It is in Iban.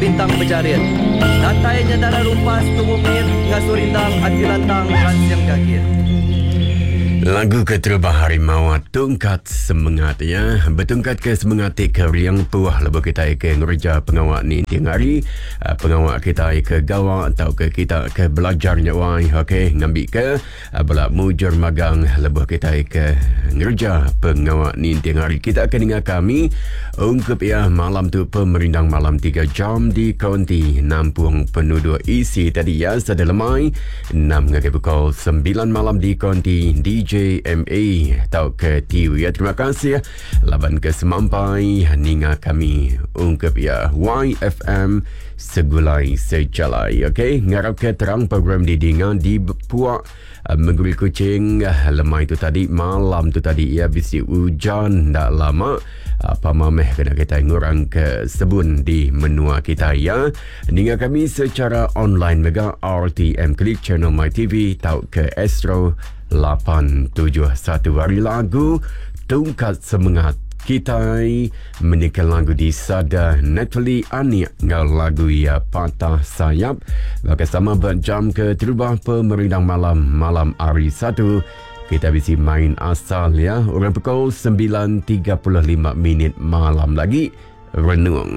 bintang bejarit. Datai nya dara rumpas tumu mit ngasuh rindang ati lantang ransing gagit. Lagu keterubah hari mawa tungkat semengat ya. Betungkat ke semengat ti kering puh lebuh kitai ke ngereja pengawa ninting hari, ah, pengawa kitai ke gawa tauka kita ke belajar nya wai. Okey, ngambika Bela mujur magang lebuh kitai ke ngereja pengawa ninting hari. Kita ke ninga kami ungkup iya malam tu pemerindang malam 3 jam di konti nampung penuduk isi tadi ya sada lemai 6 ngagai pukul 9 malam di konti DJ MA tauka TU ya. Terima kasih laban ke semampai ninga kami ungkup iya YFM Segulai Sejalai. Okey, ngarap ke terang program didinga di puak eh, Mengguri Kuching eh, lemai tu tadi, malam tu tadi ya bisi hujan ndak lama. Apa mameh kena kita ngurang ke sebun di menua kita ya. Ninga kami secara online mega RTM Klik Channel My TV tau ke Astro 871 hari lagu tungkat semangat kitai Menyeka lagu di sada Natalie Anik enggau lagu iya Patah Sayap. Baka sama ba jam ke terubah pemerindang malam malam hari Satu kita bisi main asal ya orang pukul 9.35 minit malam lagi renung.